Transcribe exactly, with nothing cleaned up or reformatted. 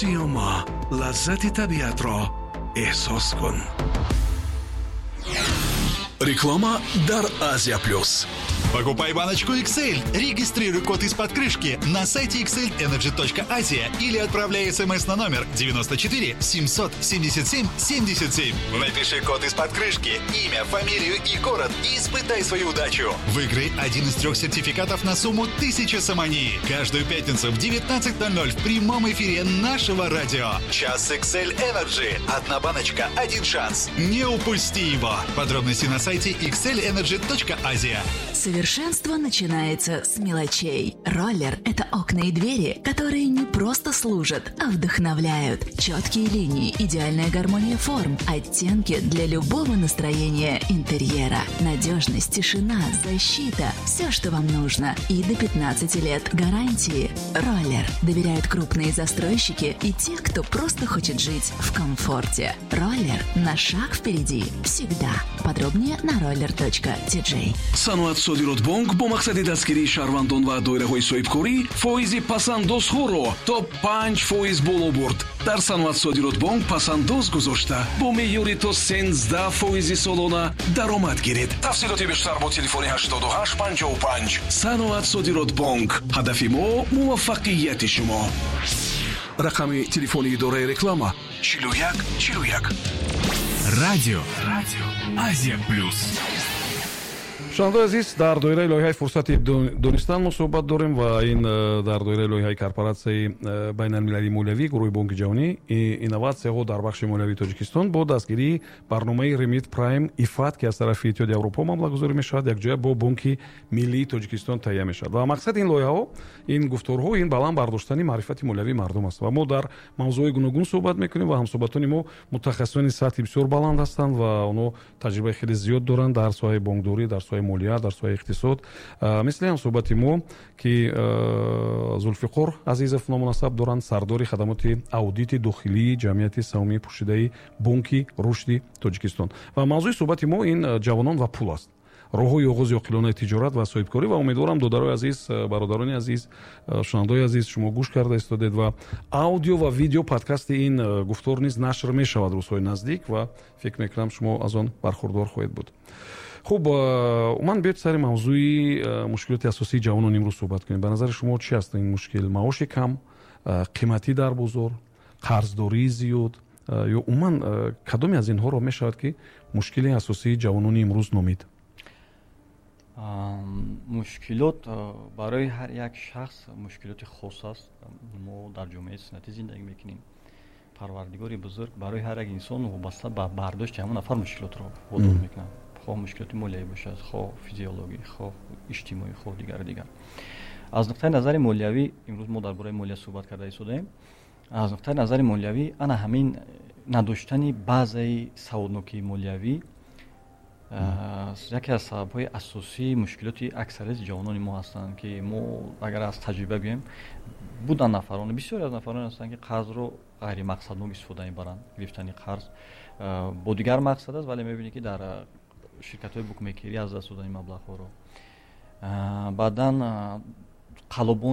Сиёма, лаззати табиатро эҳсос кун. Реклама дар Азия Плюс. Покупай баночку X L. Регистрируй код из-под крышки на сайте xlenergy точка asia или отправляй смс на номер девяносто четыре семьсот семьдесят семь семьдесят семь. Напиши код из-под крышки, имя, фамилию и город и испытай свою удачу. Выиграй один из трех сертификатов на сумму тысяча сомони. Каждую пятницу в девятнадцать ноль ноль в прямом эфире нашего радио. Час X L Energy. Одна баночка, один шанс. Не упусти его. Подробности на сайте xlenergy точка asia. Совершенство начинается с мелочей. Роллер – это окна и двери, которые не просто служат, а вдохновляют. Четкие линии, идеальная гармония форм, оттенки для любого настроения интерьера. Надежность, тишина, защита – все, что вам нужно. И до пятнадцати лет гарантии. Роллер. Доверяют крупные застройщики и те, кто просто хочет жить в комфорте. Роллер на шаг впереди. Всегда. Подробнее на roller точка T J. Саноат Содиротбонк бо мақсади дастгирии шаҳрвандон ва доираҳои соҳибкорӣ фоизи пасандозҳоро то панҷ фоиз боло бурд. Дар Саноат Содиротбонк пасандоз гузошта, бо меъёри то сенздаҳ фоизи солона даромад гиред. Тафсилоти бештар бо телефони ҳаштоду ҳашт панҷоҳу панҷ. Саноат Содиротбонк, ҳадафи мо муваффақияти шумо. Рақами телефони идораи реклама чилу як чилу як. Радио, Радио Азия Плюс. Шунавандаои азиз, дар доираи лоиҳаи «Фурсати донистан» мо суҳбат дорем ва ин э, дар доираи лоиҳаи Корпоратсияи э, байналмилалии молиявӣ, гурӯҳи Бонки Ҷаҳонӣ, инноватсияҳо дар бахши молиявии Тоҷикистон бо дастгирии барномаи Ремит Прайм ИФАД, ки аз тарафи Иттиҳоди Аврупо маблағгузорӣ мешавад, якҷоя бо Бонки Миллии Тоҷикистон таҳия мешавад. Ва мақсади ин лоиҳаҳо, ин гуфторҳо, ин баланд бардоштани маърифати молиявии мардум аст. Ва мо дар мавзӯъҳои гуногун суҳбат мекунем ва ҳамсуҳбатони мо мутахассисони сатҳи бисёр баланд ҳастанд ва онҳо таҷрибаи хеле зиёд доранд дар соҳаи бонкдорӣ, дар соҳаи молия, дар соҳаи иқтисод. Мисли ҳамсуҳбати мо, ки Зулфиқор Азизов ному насаб доранд, сардори хадамоти аудити дохилии Ҷамъияти саҳомии пӯшидаи Бонки Рушди Тоҷикистон. Ва мавзӯи суҳбати мо ин ҷавонон ва пул аст, роҳҳои оғози оқилонаи тиҷорат ва соҳибкорӣ. Ва умедворам, додарои азиз, бародарони азиз, шунавандаои азиз, шумо гӯш карда истодед ва аудио ва видео подкасти ин гуфтор низ нашр мешавад рӯзҳои наздик ва фикр мекунам, шумо аз он бархурдор хоҳед буд. Хуб, умуман, биёед сари мавзӯи мушкилоти асосии ҷавонон имрӯз суҳбат кунем. Ба назари шумо, чи аст ин мушкил? Маоши кам, қиматӣ дар бозор, қарздории зиёд ё умуман кадоме аз инҳоро мешавад, ки мушкили асосии ҷавонони имрӯз номид? Мушкилот барои ҳар як шахс мушкилоти хос аст. Мо дар ҷомеаи суннатӣ зиндагӣ мекунем. Парвардигори бузург барои ҳар як инсон вобаста ба бардошти ҳамон нафар мушкилотро водор мекунад, хоҳ мушкилоти молиявӣ бошад, хоҳ физиологӣ, хоҳ иҷтимоӣ, хоҳ дигару дигар. Аз нуқтаи назари молиявӣ, имрӯз мо дар бораи молия суҳбат карда истодаем, аз нуқтаи назари молиявӣ ана ҳамин надоштани баъзаи саводнокии молиявӣ яке аз сабабҳои асосии мушкилоти аксарияти ҷавонони мо ҳастанд, ки мо агар аз таҷриба гӯем, буданд нафароне, бисёре аз нафароне ҳастанд, ки қарзро ғайримақсаднок истифода мебаранд. Гирифтани қарз бо дигар мақсад аст, вале мебинӣ, ки дар ширкатҳои букмекерӣ аз даст додани маблағҳоро, баъдан қаллобон.